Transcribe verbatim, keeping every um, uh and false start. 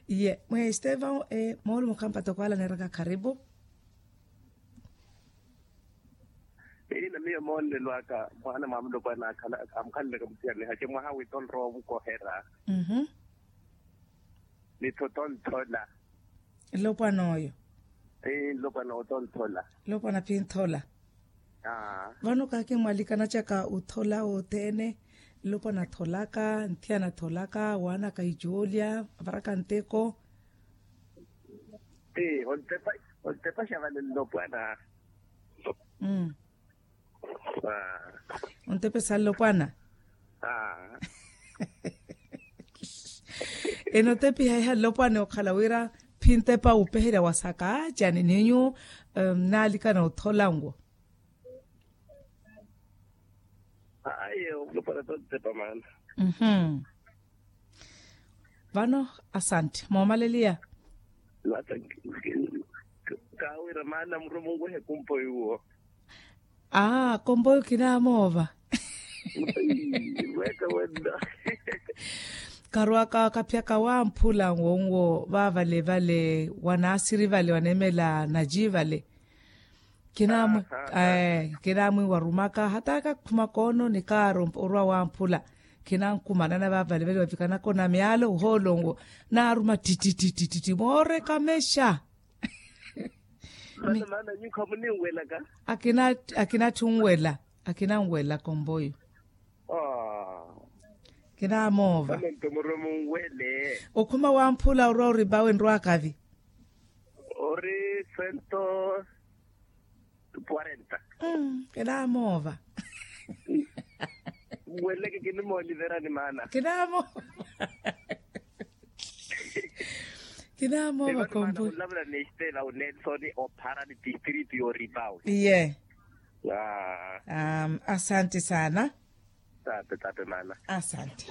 Iye mwe estevan, moolumo khampata okwaala neeraka kharipu. Iina miyo moonelwaka mwaana mwa mulopwana akhala amukhalelaka muthiyanihakhe mwaha witto nrowa omukohera. Nitho tonthola. Nlopwana oyo. Nlopwana oyo tonthola. Nlopwana phi nthola. Vano kaakimwalikana caka othola othene. Nlopwana atholaka nthiyana atholaka waanaka icoolya avaraka nteko. Ee ontepa ontepa xa vale nlopwana. Ontepesa nlopwana. Enotepiha iha nlopwana okhala wira phintepa wupeherya wasaka cani ninyu. Naalikana othola nwo. Ayo nlopwana tontepa maana. Vano asantte moomaleliya. Kaawira maana murwe munwehe kumpo yuwo. Aa komboyo kinaamoova. Mweeka wenna. Karwaka kapyaka wamphula nwo nwo vaavale vale wanaasiri vale waneemela naji vale. Kinaamwi ee kinaamwi warumaka hata kakhuma koono nikaari orwa wamphula. Kinaankumanana vaavale vale wavikanaka ona myaalo ohoolo nwo naaruma ttittittitti mooreka mexa. Maana maana nyuwo khamuninwelaka. Akina akina atthi onwela akina onwela komboyo. Kinaamoova. Maana nto murwe munwele. Okhuma wamphula orwa oripawe nrwakavi. Ori sento kwarenta. Kinaamoova. Mweleke kinimooliverani maana. Kinaamoova. Kinaamoova kombo. Lavula nestela unelson ophara ni district yoripawe. Iye. Asante sana. Tape tape maana. Asante.